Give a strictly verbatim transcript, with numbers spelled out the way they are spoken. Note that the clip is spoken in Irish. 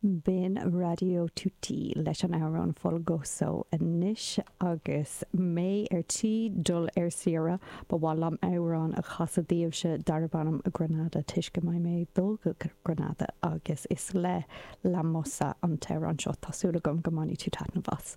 B'in Radio Tutti leis an amhrán Folgoso anois agus mé ar tí dul ar saoire ba mhaith liom amhrán a chasadh daoibhse darb ainm Granada toisc go mbeidh mé ag dul go Granada agus is le La Mosa an t-amhrán seo. Tá súil agam go mbainfidh tú taitneamh as.